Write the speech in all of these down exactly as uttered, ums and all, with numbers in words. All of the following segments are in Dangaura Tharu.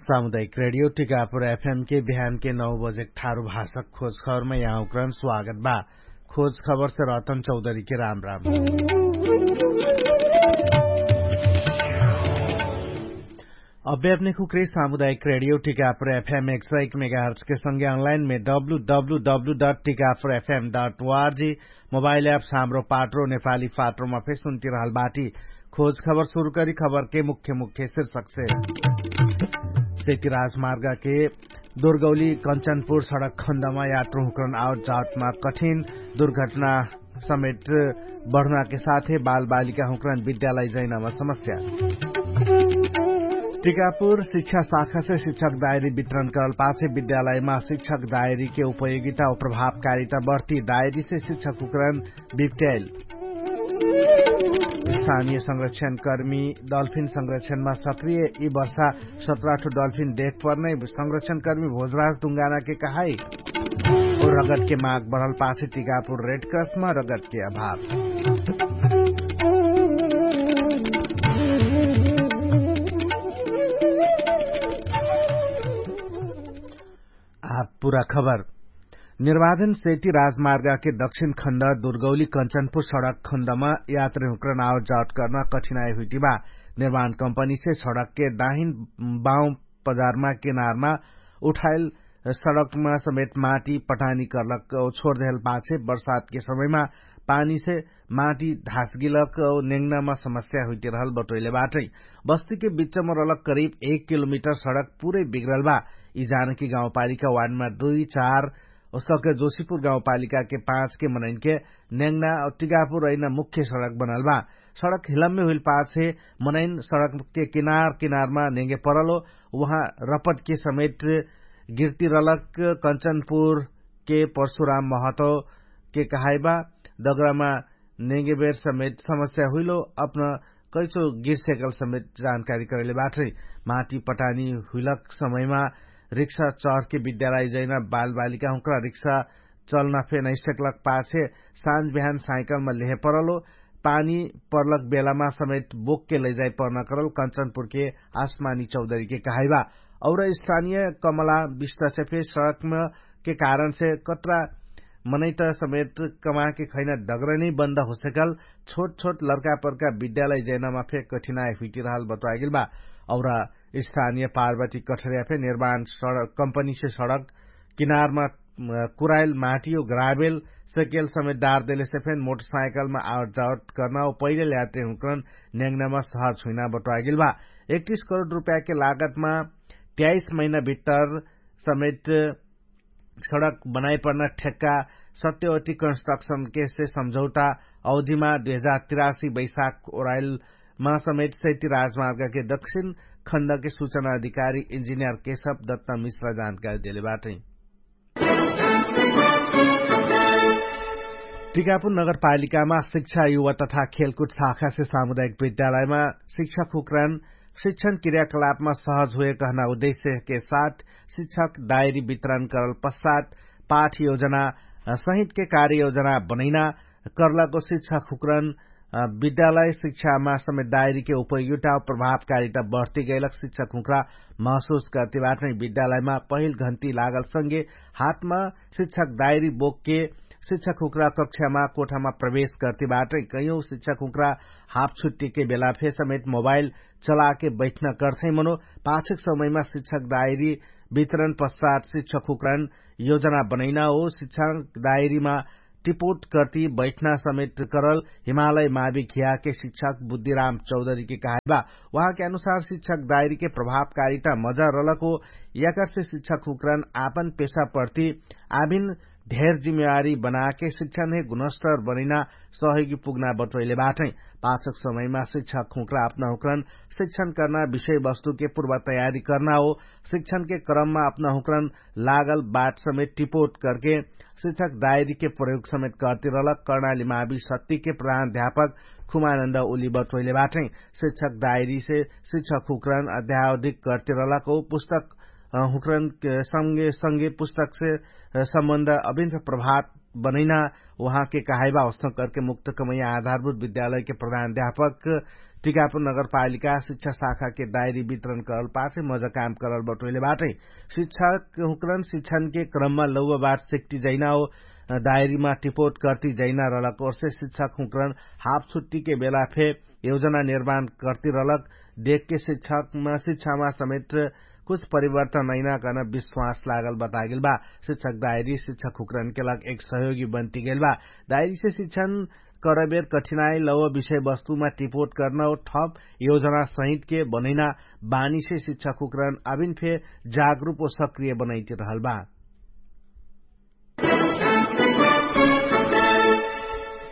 सामुदायिक रेडियो टिकापुर एफएम के बिहान के नौ बजे ठारु भाषक खोज खबरमा यहाँ उक्रन स्वागत बा। खोज खबर से रतन चौधरी के राम राम। अभ्यापने खुक्रे सामुदायिक रेडियो टिकापुर एफएम एक सौ एक मेगाहर्च के संगे अनलाइन में W W W dot Tikapur FM dot ORG mobile app Hamro Patro Nepali पाट्रोमा फेर सुन्ति रहल बाटी। खोज खबर सुरु करी खबर के मुख्य मुख्य शीर्षक से। सेती राजमार्ग के दुर्गौली कन्चनपुर सडक खण्डमा यात्रु हुक्रन आवत जावतमा कठिन दुर्घटना समेट बढ्ना के साथे बालबालिका हुक्रन विद्यालय जैनामा समस्या। टिकापुर शिक्षा शाखा से शिक्षक दायरी वितरण करल पाछे विद्यालयमा शिक्षक दायरी के उपयोगिता और प्रभावकारिता बढ्ती दायरी से शिक्षक हुक्रन विप्ट्याइल। स्थानीय संरक्षणकर्मी डल्फिन संरक्षणमा सक्रिय यि वर्षा सत्राठो डल्फिन देख पर्नै संरक्षणकर्मी भोजराज दुङ्गानाके कहाई। रगतके माग बढल पाछे टिकापुर रेडक्रसमा रगतके अभाव। आब पुरा खबर। निर्वाचन सेती राजमार्गके दक्षिण खण्ड दुर्गौली कन्चनपुर सडक खण्डमा यात्रीहुँक्रन आवत जावत कर्न कठिनाइ हुइटिबा। निर्वाण कम्पनीसे सडकके दाहिन बाउँ पजारमा किनारमा उठाइल सडकमा समेत माटी पठानी कर्लक छोरदेहल पाछे बर्सातके समयमा पानीसे माटी ढासगिलक नेङ्नामा समस्या हुइटिरहल बटोइले बाटै। बस्तीके बिच्चम रलक करिब एक किलोमिटर सडक पुरै बिग्रल बा। यि जानकी गाउँपालिका वार्डमा दुई चार उसके जोशीपुर गाउँपालिकाके पाँचके मनैनके नेङ्ना टिकापुर रैना मुख्य सडक बनल बा। सडक हिलम्मे हुइल पाछे मनैन सडकके किनार किनारमा नेङ्गे परलो। उहाँ रपटके समेट गिर्तिरलक कन्चनपुरके परशुराम महतोके कहाइबा। दगरामा नेङ्गेबेर समेट समस्या हुइलो अपन कैचो गिर्सेकल समेट जानकारी करैले बाटै। माटी पटानी हुइलक समयमा रिक्सा चहरके विद्यालय जैना बालबालिका हुँक्रा रिक्सा चल्ना फे नैसेकलक पाछे साँझ बिहान साइकलमा लेहे परलो। पानी पर्लक बेलामा समेत बोकके लैजाइ पर्ना करल कन्चनपुरके आसमानी चौधरीके कहाइबा। और स्थानीय कमला बिस्तासे फे सडकमा के कारणसे कत्रा मनैत समेत कमाके खैना डगरनै बन्द होसेकल छोट छोट लर्कापर्का विद्यालय जैनामा फे कठिनाइ हुइटिरहल बतोआगेल बा। और स्थानीय पार्वती कठर्या फे निर्माण कम्पनीसे सडक किनारमा कुराइल माटी और ग्राबेल सकेल समेत डार देलेसे फेन मोटरसाइकलमा आवट जावट कर्ना और पैरेल यात्रीहुँक्रन नेङ्नामा सहज हुइना बटोआगेल बा। एकतिस करोड रुपयाके लागतमा त्याइस महिना भित्तर समेट सडक बनाइपर्ना ठेक्का सत्यवती कन्स्ट्रक्सनके से सम्झौता अवधिमा दुई हजार तिरासी बैशाख ओराइलमा समेत सैती राजमार्गके दक्षिण खण्डके सुचना अधिकारी इन्जिनियर केशव दत्त मिश्र जानकारी देले बाटै। टिकापुर नगरपालिकामा शिक्षा युवा तथा खेलकुट शाखासे सामुदायिक विद्यालयमा शिक्षक हुक्रान शिक्षण क्रियाकलापमा सहज हुए कहना उद्देश्यके साथ शिक्षक दायरी वितरण करल पश्चात पाठ योजना सहितके कार्ययोजना बनैना कर्लाको शिक्षक हुक्रान विद्यालय शिक्षामा समेत दायरीके उपयोगिता प्रभावकारिता बढ्ती गैलक शिक्षक हुँक्रा महसुस कर्तिबाटै विद्यालयमा पहिल घन्टी लागल संगे हातमा शिक्षक दायरी बोकके शिक्षक हुँक्रा कक्षामा कोठामा प्रवेश कर्तिबाटै कैयौ शिक्षक हुँक्रा हाप छुट्टीके बेला फे समेत मोबाइल चलाके बैठ्न कर्थे मनो पाछेक समयमा शिक्षक दायरी वितरण पश्चात शिक्षक हुँक्रान योजना बनैना हो शिक्षक दायरीमा टिपोट कर्ति बैठ्ना समेट करल हिमालय माविक हियाके शिक्षक बुद्धिराम चौधरीके कहाइबा। उहाँके अनुसार शिक्षक दायरीके प्रभावकारिता मजा रलक हो याकर्से शिक्षक हुँक्रन आपन पेशा प्रति आभिन ढेर जिम्मेवारी बनाके शिक्षणहे गुणस्तर बनैना सहयोगी पुग्ना बटोइले बाटै। पाछक समयमा शिक्षक हुँक्रा अपना हुँक्रन शिक्षण कर्ना विषय वस्तुके पूर्व तयारी कर्ना हो शिक्षणके क्रममा अपना हुँक्रन लागल बाट समेत टिपोट करके शिक्षक दायरीके प्रयोग समेत कर्तिरलक कर्णाली मावी सत्तिके प्रधान अध्यापक खुमानन्द उली बटोइले बाटै। शिक्षक दायरीसे शिक्षक हुँक्रन अध्यावधिक कर्तिरलक हो पुस्तक हुँक्रन संगे संगे पुस्तकसे सम्बन्ध अभिन्त प्रभाव बनैना उहाँके कहाइबा अवस्था करके मुक्त कमैया आधारभूत विद्यालयके प्रधान अध्यापक टिकापुर नगरपालिका शिक्षा शाखाके डायरी वितरण करल पार्टी मजा काम करल बटोइले बाटै। शिक्षक हुँकरन शिक्षणके क्रममा लौवा बाट सिक्टी जैना हो डायरीमा टिपोट कर्ती जैना रहलक ओर्से शिक्षक हुँकरन हाफ छुट्टीके बेला फे योजना निर्माण कर्ती रहलक। देखके शिक्षकमा शिक्षामा समेट कुछ परिवर्तन नैना कहना विश्वास लागल बतागेल बा। शिक्षक डायरी शिक्षक हुँकरनके लग एक सहयोगी बन्ती गेल बा। डायरीसे शिक्षण करबेर कठिनाई लव विषयवस्तुमा टिपोट कर्न ओ ठप योजना सहितके बनैना बानीसे शिक्षक हुँकरन अभिन फे जागरूप ओ सक्रिय बनैती रहल बा।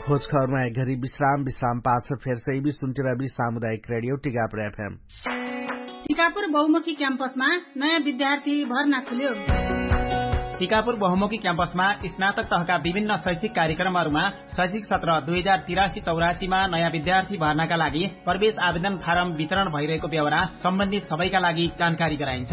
खोजखबरमा एक घरी विश्राम विश्राम पाछ फेर सैबी सुन्टिरा बी सामुदायिक रेडियो टिकापुर एफएम। टिकापुर बहुमुखी क्याम्पसमा नयाँ विद्यार्थी भर्ना खुल्यो। टिकापुर बहुमुखी क्याम्पसमा स्नातक तहका विभिन्न शैक्षिक कार्यक्रमहरूमा शैक्षिक सत्र दुई हजार तिरासी चौरासीमा नयाँ विद्यार्थी भर्नाका लागि प्रवेश आवेदन फारम वितरण भइरहेको व्यवहार सम्बन्धित सबैका लागि जानकारी गराइन्छ।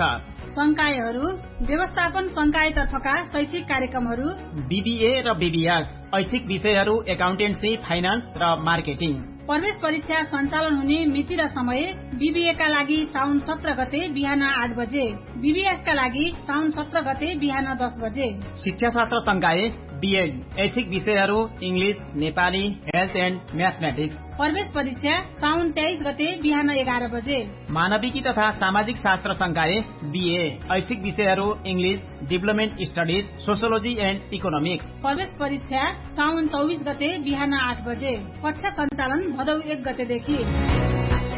संकायहरू व्यवस्थापन संकायतर्फका शैक्षिक कार्यक्रमहरू बिबिए र बिबिएस, ऐच्छिक विषयहरू एकाउन्टेन्सी, फाइनान्स र मार्केटिङ। प्रवेश परीक्षा सञ्चालन हुने मिति र समय बिबिएका लागि साउन सत्र गते बिहान आठ बजे, बिबिएसका लागि साउन सत्र गते बिहान दस बजे। शिक्षाशास्त्र संकाय बिएड, ऐच्छिक विषयहरू इङ्ग्लिस, नेपाली, हेल्थ एन्ड म्याथमेटिक्स। प्रवेश परीक्षा साउन तेइस गते बिहान एघार बजे। मानविकी तथा सामाजिक शास्त्र संकाय बिए, ऐच्छिक विषयहरू इङ्ग्लिस, डिभलपमेन्ट स्टडिज, सोसियोलोजी एन्ड इकोनोमिक्स। प्रवेश परीक्षा साउन चौबिस गते बिहान आठ बजे। कक्षा सञ्चालन भदौ एक गतेदेखि।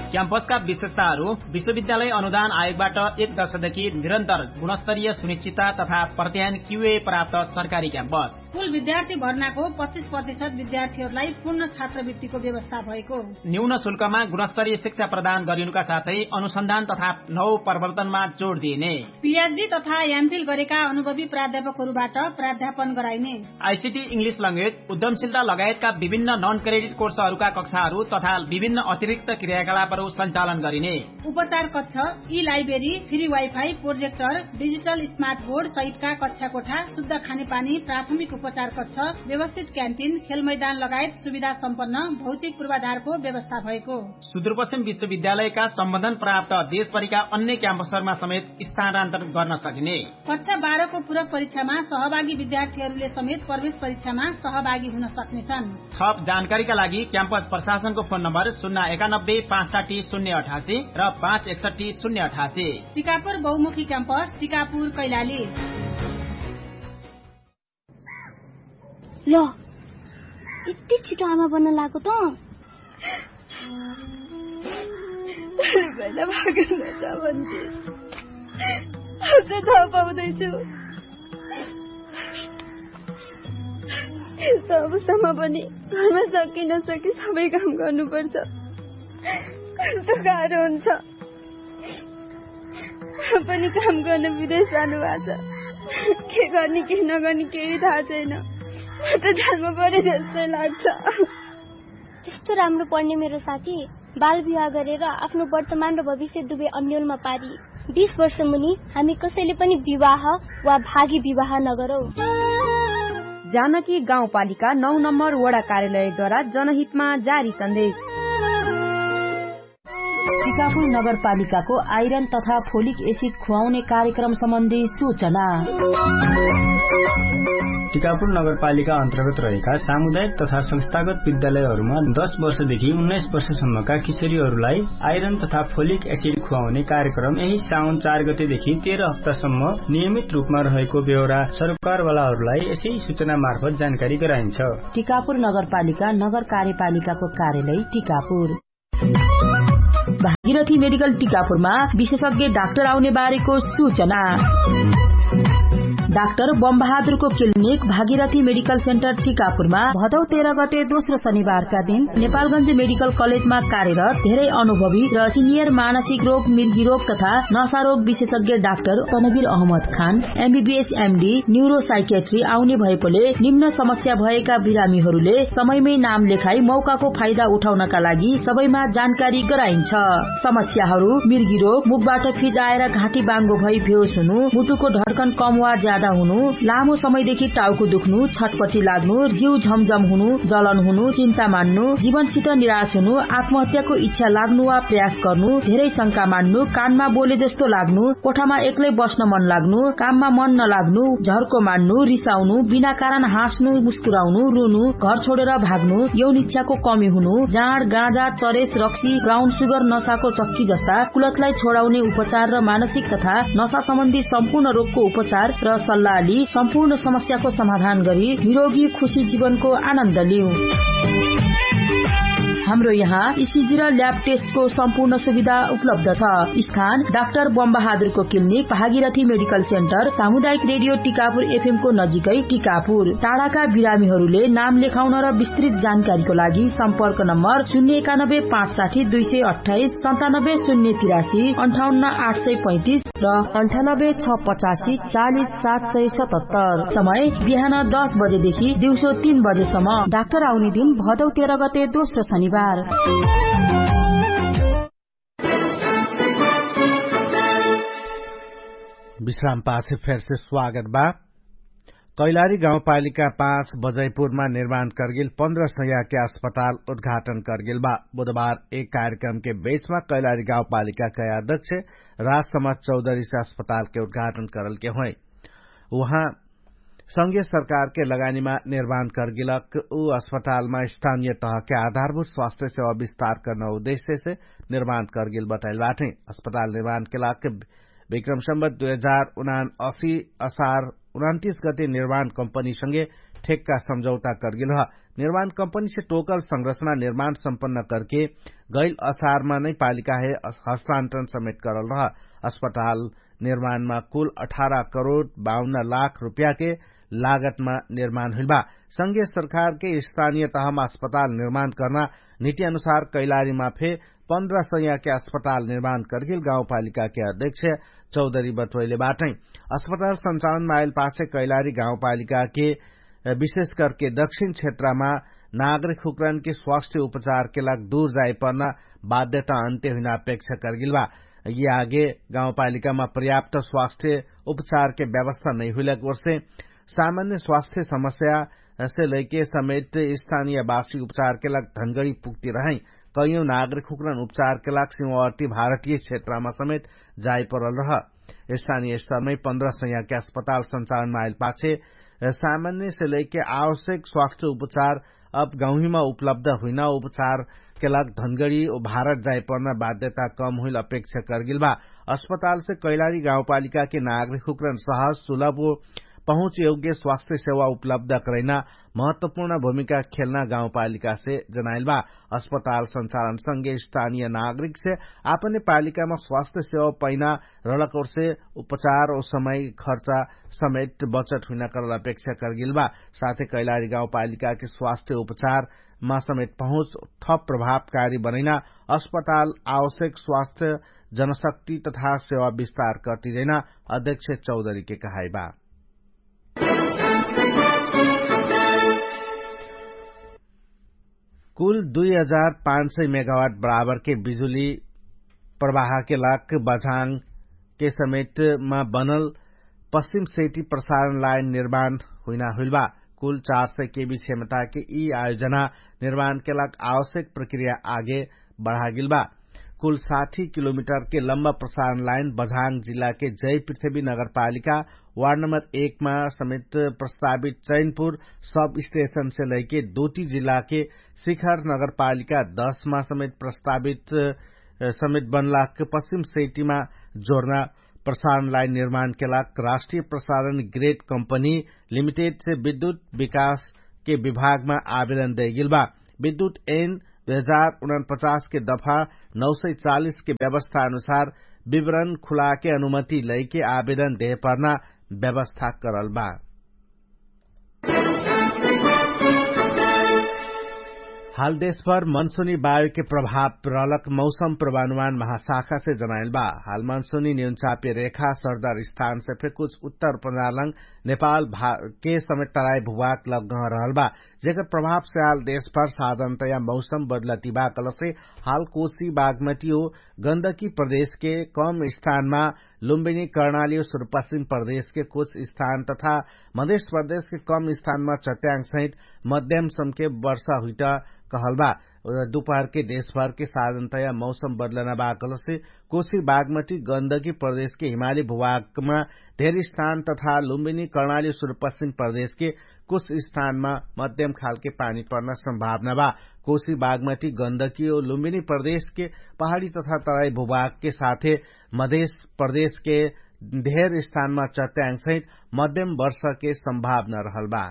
क्याम्पसका विशेषताहरू विश्वविद्यालय अनुदान आयोगबाट एक दशकदेखि निरन्तर गुणस्तरीय सुनिश्चितता तथा प्रत्ययन क्युए प्राप्त सरकारी क्याम्पस। कुल विद्यार्थी भर्नाको पच्चिस प्रतिशत विद्यार्थीहरूलाई पूर्ण छात्रवृत्तिको व्यवस्था भएको। न्यून शुल्कमा गुणस्तरीय शिक्षा प्रदान गरिनुका साथै अनुसन्धान तथा नौ प्रवर्तनमा जोड दिइने। पिएचडी तथा एमफिल गरेका अनुभवी प्राध्यापकहरूबाट प्राध्यापन गराइने। आइसिटी इङ्ग्लिस लङ्गेज उद्यमशीलता लगायतका विभिन्न नन क्रेडिट कोर्सहरूका कक्षाहरू तथा विभिन्न अतिरिक्त क्रियाकलापहरू सञ्चालन गरिने। उपचार कक्ष, ई library, free wifi, projector, digital smart board सहितका कक्षा कोठा, शुद्ध खानेपानी, प्राथमिक उपचार कक्ष, व्यवस्थित क्यान्टिन, खेलमैदान लगायत सुविधा सम्पन्न भौतिक पूर्वाधारको व्यवस्था भएको। सुदूरपश्चिम विश्वविद्यालयका सम्बन्धन प्राप्त देशभरिका अन्य क्याम्पसहरूमा समेत स्थानान्तरण गर्न सकिने। कक्षा बाह्रको पूरक परीक्षामा सहभागी विद्यार्थीहरूले समेत प्रवेश परीक्षामा सहभागी हुन सक्नेछन्। थप जानकारीका लागि क्याम्पस प्रशासनको फोन नम्बर शून्य एकानब्बे पाँच साठी शून्य अठासी र पाँच एकसट्ठी शून्य अठासी। टिकापुर बहुमुखी क्याम्पस, टिकापुर कैलाली। ल, यति छिटो आमा बन्न लागेको त? पहिला भागेर जान्छ भन्थे। अब त थाहा पाउँदैछु। यस्तो अवस्थामा पनि घरमा सके नसके सबै काम गर्नुपर्छ। कस्तो गाह्रो हुन्छ। पनि काम गर्न विदेश जानुभएको छ। के गर्ने के नगर्ने केही थाहा छैन। म त जान्नु पर्यो जस्तै लाग्छ। त्यस्तो राम्रो पढ्ने मेरो साथी बाल विवाह गरेर आफ्नो वर्तमान र भविष्य दुवै अन्यलमा पारी। बिस वर्ष मुनि हामी कसैले पनि विवाह वा भागी विवाह नगरौँ। जानकी गाउँपालिका नौ नम्बर वडा कार्यालयद्वारा जनहितमा जारी सन्देश। टिकापुर नगरपालिकाको आइरन तथा फोलिक एसिड खुवाउने कार्यक्रम सम्बन्धी सूचना। टिकापुर नगरपालिका अन्तर्गत रहेका सामुदायिक तथा संस्थागत विद्यालयहरूमा दस वर्षदेखि उन्नाइस वर्षसम्मका किशोरीहरूलाई आइरन तथा फोलिक एसिड खुवाउने कार्यक्रम यही साउन चार गतेदेखि तेह्र हप्तासम्म नियमित रूपमा रहेको बेहोरा सरकारवालाहरूलाई यसै सूचना मार्फत जानकारी गराइन्छ। टिकापुर नगरपालिका नगर कार्यपालिकाको कार्यालय टिकापुर। भागीरथी मेडिकल टिकापुरमा विशेषज्ञ डाक्टर आउने बारेको सूचना। डाक्टर बमबहादुरको क्लिनिक भागीरथी मेडिकल सेन्टर टिकापुरमा भदौ तेह्र गते दोस्रो शनिबारका दिन नेपालगञ्ज मेडिकल कलेजमा कार्यरत धेरै अनुभवी र सिनियर मानसिक रोग मिर्गी रोग तथा नशा रोग विशेषज्ञ doctor Tanveer Ahmad Khan MBBS MD neuro psychiatry आउने भएकोले निम्न समस्या भएका बिरामीहरूले समयमै नाम लेखाई मौकाको फाइदा उठाउनका लागि सबैमा जानकारी गराइन्छ। समस्याहरू मिर्गी रोग मुखबाट फिजाएर घाँटी बाङ्गो भई बेहोस हुनु मुटुको धड्कन कम वा ज्यादा हुनु, लामो समयदेखि टाउको दुख्नु, छटपटी लाग्नु, जिउ झमझम हुनु, जलन हुनु, चिन्ता मान्नु, जीवनसित निराश हुनु, आत्महत्याको इच्छा लाग्नु वा प्रयास गर्नु, धेरै शंका मान्नु, कानमा बोले जस्तो लाग्नु, कोठामा एक्लै बस्न मन लाग्नु, काममा मन नलाग्नु, झर्को मान्नु, रिसाउनु, बिना कारण हाँस्नु, मुस्कुराउनु, रुनु, घर छोडेर भाग्नु, यौन इच्छाको कमी हुनु, जाँड, गाँजा, चरेस, रक्सी, ब्राउन सुगर, नसाको चक्की जस्ता कुलतलाई छोडाउने उपचार र मानसिक तथा नसा सम्बन्धी सम्पूर्ण रोगको उपचार र सल्लाह लि सम्पूर्ण समस्याको समाधान गरी निरोगी खुशी जीवनको आनन्द लिउ। हाम्रो यहाँ इसिजी र ल्याब टेस्टको सम्पूर्ण सुविधा उपलब्ध छ। स्थान डाक्टर बमबहादुरको क्लिनिक, भागीरथी मेडिकल सेन्टर, सामुदायिक रेडियो टिकापुर एफएमको नजिकै टिकापुर। टाढाका बिरामीहरूले नाम लेखाउन र विस्तृत जानकारीको लागि सम्पर्क नम्बर शून्य एकानब्बे पाँच साठी दुई सय अट्ठाइस, सन्तानब्बे शून्य तिरासी, अन्ठाउन्न आठ सय पैँतिस र अन्ठानब्बे छ पचासी चालिस सात सय सतहत्तर। समय बिहान दस बजेदेखि दिउँसो तीन बजेसम्म। डाक्टर आउने दिन भदौ तेह्र गते दोस्रो शनिबार। विश्राम पाछे फेरसे स्वागत बा। कैलारी गाउँपालिका पाँच बजैपुरमा निर्माण कर्गेल पन्ध्र सयके अस्पताल उद्घाटन कर्गेल बा। बुधबार एक कार्यक्रमके बेचमा कैलारी गाउँपालिकाके अध्यक्ष राजसमाज चौधरीसे अस्पतालके उद्घाटन करलके होइ। उहाँ संघीय सरकारके लगानीमा निर्माण कर्गेलक उ अस्पतालमा स्थानीय तहके आधारभूत स्वास्थ्य सेवा विस्तार कर्न उद्देश्यसे निर्माण कर्गेल बताइल बाटै। अस्पताल निर्माणके लाग विक्रम सम्बत दुई हजार उनासी असार उनन्तिस गते निर्माण कम्पनीसँगे ठेक्का सम्झौता कर्गेल ह। निर्माण कम्पनीसे टोकल संरचना निर्माण सम्पन्न कर्के गैल असारमा नै पालिकाहे हस्तान्तरण समेट करल रह। अस्पताल निर्माणमा कुल अठार करोड बाउन्न लाख रुपियाँके लागतमा निर्माण हुइल बा। संघीय सरकारके स्थानीय तहमा अस्पताल निर्माण कर्ना निति अनुसार कैलारीमा फे पन्ध्र सयके अस्पताल निर्माण कर्गेल गाउँपालिकाके अध्यक्ष चौधरी बटोइले बाटै। अस्पताल सञ्चालनमा आइल पाछे कैलारी गाउँपालिकाके विशेष करके दक्षिण क्षेत्रमा नागरिक हुक्रनके स्वास्थ्य उपचारके लाग दूर जाइपर्ना बाध्यता अन्त्य हुइना अपेक्षा कर्गेल बा। यि आगे गाउँपालिकामा पर्याप्त स्वास्थ्य उपचारके व्यवस्था नै हुइलक वर्षे सामान्य स्वास्थ्य समस्यासे लैके समेट स्थानीय वासी उपचारके लाग धनगडी पुग्ति रहै। कैयौं नागरिक हुक्रन उपचारके लाग सिमवर्ती भारतीय क्षेत्रमा समेट जाइपरल रह। स्थानीय स्तरमै पन्ध्र सयके अस्पताल सञ्चालनमा आइल पाछे सामान्यसे लैके आवश्यक स्वास्थ्य उपचार अब गाउँहीमा उपलब्ध हुइना उपचारके लाग धनगडी ओ भारत जाइपर्ना बाध्यता कम हुइल अपेक्षा कर्गेल बा। अस्पतालसे कैलारी गाउँपालिकाके नागरिक हुक्रन सहज सुलभ ओ पहुँचयोग्य स्वास्थ्य सेवा उपलब्ध करैना महत्वपूर्ण भूमिका खेल्ना गाउँपालिकासे जनाइल बा। अस्पताल सञ्चालनसँगे स्थानीय नागरिकसे आपने पालिकामा स्वास्थ्य सेवा पैना रलकौरसे उपचार ओ समय खर्चा समेट बचत हुइना करल अपेक्षा कर्गेल बा। साथे कैलारी गाउँपालिकाके स्वास्थ्य उपचारमा समेट पहुँच थप प्रभावकारी बनैना अस्पताल आवश्यक स्वास्थ्य जनशक्ति तथा सेवा विस्तार कर्ति जैना अध्यक्ष चौधरीके कहाइ बा। कुल दुई हजार पाँच सय मेगावाट बराबरके बिजुली प्रवाहके लाग बझाङके समेटमा बनल पश्चिम सेटी प्रसारण लाइन निर्माण हुइना हुइल बा। कुल चार सय केबी क्षमताके यि आयोजना निर्माणके लाग आवश्यक प्रक्रिया आगे बढागेल बा। कुल साठी किलोमिटरके लम्बा प्रसारण लाइन बझाङ जिल्लाके जय पृथ्वी नगरपालिका वार्ड नम्बर एकमा समेट प्रस्तावित चैनपुर सब स्टेशनसे लैके दोटी जिल्लाके शिखर नगरपालिका दसमा समेट प्रस्तावित समेट बनलाक पश्चिम सेटीमा जोर्ना प्रसारण लाइन निर्माणके लाग राष्ट्रिय प्रसारण ग्रेड कम्पनी लिमिटेडसे विद्युत विकासके विभागमा आवेदन दैगेल बा। विद्युत एन दुई हजार उनपचासके दफा नौ सय चालिसके व्यवस्था अनुसार विवरण खुलाके अनुमति लैके आवेदन देहपर्ना व्यवस्था करल बा। हाल देशभर मनसुनी वायुके प्रभाव प्रलक मौसम प्रवानुमान महाशाखासे जनाइल बा। हाल मनसुनी नियन्चापे रेखा सरदार स्थानसे फे कुछ उत्तर पन्जालङ नेपाल के समेत तराई भुवाक लग गह रहल बा। जेकर प्रभाव स्याल देशभर साधनतया मौसम बदलति बा कलसे हाल कोशी बागमटी हो गन्दकी प्रदेशके कम स्थानमा लुम्बिनी कर्णाली हो सुरुपश्चिम प्रदेशके कुछ स्थान तथा मधेश प्रदेशके कम स्थानमा चट्याङ्ग सहित मध्यम समके वर्षा हुइट कहल बा। दुपहरके देशभरके साधनतया मौसम बदलना बा कलसे कोशी बागमटी गन्दकी प्रदेशके हिमाली भुभागमा धेर स्थान तथा लुम्बिनी कर्णाली सुरुपश्चिम प्रदेशके कुछ स्थानमा मध्यम खालके पानी पर्ना सम्भावना बा। कोशी बागमटी गन्दकी हो लुम्बिनी प्रदेशके पहाडी तथा तराई भुभागके साथे मधेश प्रदेशके धेर स्थानमा चट्याङ्ग सहित मध्यम वर्षके सम्भावना रहल बा।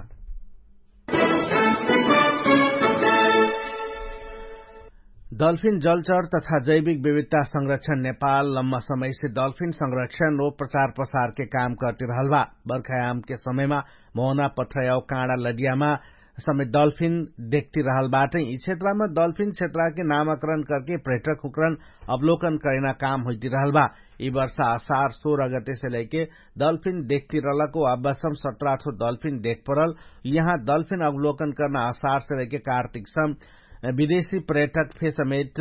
डल्फिन जलचर तथा जैविक विविधता संरक्षण नेपाल लम्मा समयसे डल्फिन संरक्षण रो प्रचार प्रसारके काम करति रहल बा। बर्खायामके समयमा मोहना पथ्रयाव काँडा लडियामा समेत डल्फिन देखति रहल बाटै। यि क्षेत्रमा डल्फिन क्षेत्रके नामाकरण करके पर्यटक हुकरण अवलोकन करैना काम होइति रहल बा। यि वर्षा असार सोह्र गतेसे लैके डल्फिन देखति रहलको अब्बासम सत्राठो डल्फिन देख परल। यहाँ डल्फिन अवलोकन करना असारसे लैके कार्तिकसम विदेशी पर्यटक फे समेत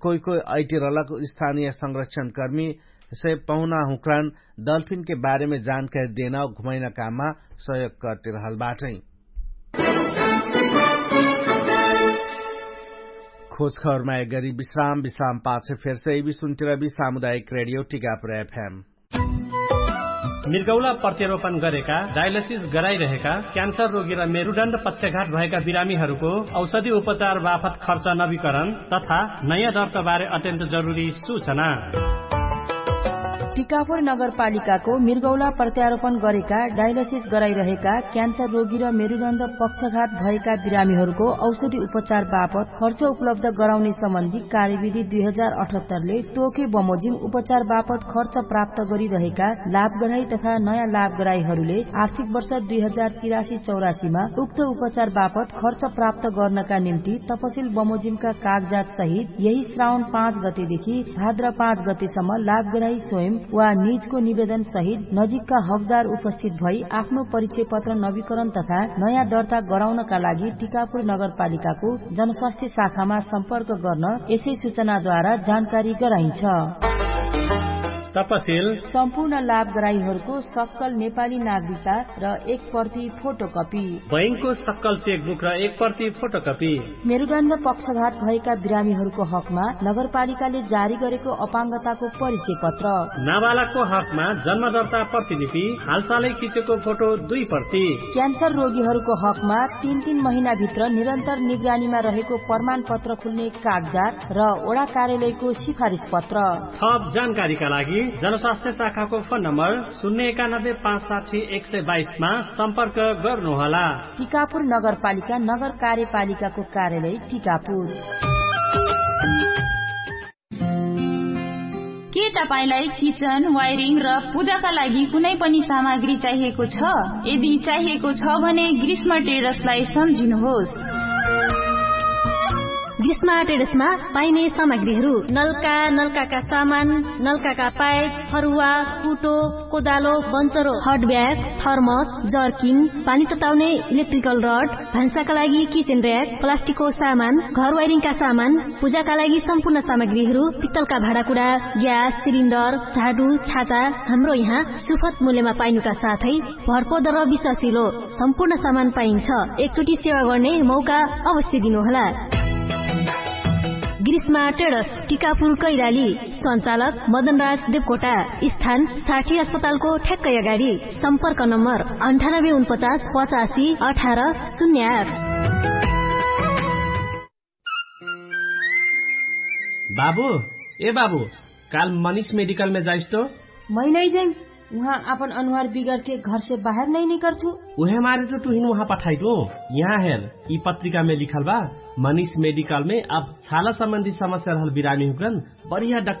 कोइ कोइ अइटि रहलक। स्थानीय संरक्षणकर्मी से पहुना हुँक्रान डल्फिनके बारेमे जानकारी देना घुमैना काममा सहयोग करति रहल बाटै। खोजखबरमा एक गरी विश्राम विश्राम पाछे फेरसे इबी सुन्तिरबी सामुदायिक रेडियो टिकापुर एफएम। मिर्गौला प्रत्यारोपण गरेका डायलसिस गराइरहेका क्यान्सर रोगी र मेरुडण्ड पक्षघात भएका बिरामीहरूको औषधि उपचार बाफत खर्च नवीकरण तथा नयाँ दर्ताबारे अत्यन्त जरुरी सूचना। टिकापुर नगरपालिकाको मिर्गौला प्रत्यारोपण गरेका डायलसिस गराइरहेका क्यान्सर रोगी र मेरुदण्ड पक्षघात भएका बिरामीहरूको औषधि उपचार बापत खर्च उपलब्ध गराउने सम्बन्धी कार्यविधि दुई हजार अठहत्तरले तोके बमोजिम उपचार बापत खर्च प्राप्त गरिरहेका लाभगराई तथा नयाँ लाभगराईहरूले आर्थिक वर्ष दुई हजार तिरासी चौरासीमा उक्त उपचार बापत खर्च प्राप्त गर्नका निम्ति तपसिल बमोजिमका कागजात सहित यही श्रावण पाँच गतेदेखि भाद्र पाँच गतेसम्म लाभगराई स्वयं वा निजको निवेदन सहित नजिकका हकदार उपस्थित भई आफ्नो परिचय पत्र नवीकरण तथा नयाँ दर्ता गराउनका लागि टिकापुर नगरपालिकाको जनस्वास्थ्य शाखामा सम्पर्क गर्न यसै सूचनाद्वारा जानकारी गराइन्छ। तपसिल सम्पूर्ण लाभगराईहरूको सक्कल नेपाली नागरिकता र एक प्रति फोटोकपी बैंकको सक्कल चेकबुक र एक प्रति फोटोकपी। मेरुदण्ड पक्षघात भएका बिरामीहरूको हकमा नगरपालिकाले जारी गरेको अपाङ्गताको परिचय पत्र। नाबालकको हकमा जन्मदर्ता प्रतिलिपि हालसालै खिचेको फोटो दुई प्रति। क्यान्सर रोगीहरूको हकमा तीन तीन महिनाभित्र निरन्तर निगरानीमा रहेको प्रमाणपत्र खुल्ने कागजात र ओडा कार्यालयको सिफारिस पत्र। थप जानकारीका लागि जनस्वास्थ्य शाखाको फोन नम्बर शून्य एकानब्बे पाँच साठी एक सय बाइसमा सम्पर्क गर्नुहोला। टिकापुर नगरपालिका नगर कार्यपालिकाको कार्यालय टिकापुर। के तपाईंलाई किचन वायरिङ र पूजाका लागि कुनै पनि सामग्री चाहिएको छ? यदि चाहिएको छ भने ग्रीष्म ट्रेडर्सलाई सम्झिनुहोस्। ग्रीष्म ट्रेडर्समा पाइने सामग्रीहरू नलका नलकाका सामान, नलकाका पाइप, फरुवा, कुटो, कोदालो, बन्चरो, हट ब्याग, थर्मस, जर्किन, पानी तताउने इलेक्ट्रिकल रड, भान्साका लागि किचेन र्याक, प्लास्टिकको सामान, घर वाइरिङका सामान, पूजाका लागि सम्पूर्ण सामग्रीहरू, पित्तलका भाँडाकुडा, ग्यास सिलिन्डर, झाडु, छाता, हाम्रो यहाँ सुफत मूल्यमा पाइनुका साथै भरपर्दो र विश्वासिलो सम्पूर्ण सामान पाइन्छ। एकचोटि सेवा गर्ने मौका अवश्य दिनुहोला। ग्रीष्मा ट्रेडर्स, टिकापुर कैलाली। सञ्चालक मदनराज देवकोटा। स्थान साठी अस्पतालको ठ्याक्कै अगाडि। सम्पर्क नम्बर अन्ठानब्बे उनपचास पचासी अठार शून्य आठ। बाबु, ए बाबु, काल मनिष मेडिकलमे जाइस तो? मै नै जाइस। उहाँ आपन अनुहार बिगरके घरसे बाहेर नै निकर्छु। उहे मारे तो तुहिन उहाँ पठाइटु। यहाँ हेर, यि पत्रिकामे लिखल बा, मनिष मेडिकलमे अब छाला सम्बन्धी समस्या रहल बिरामी हुकन बढिया डाक्टर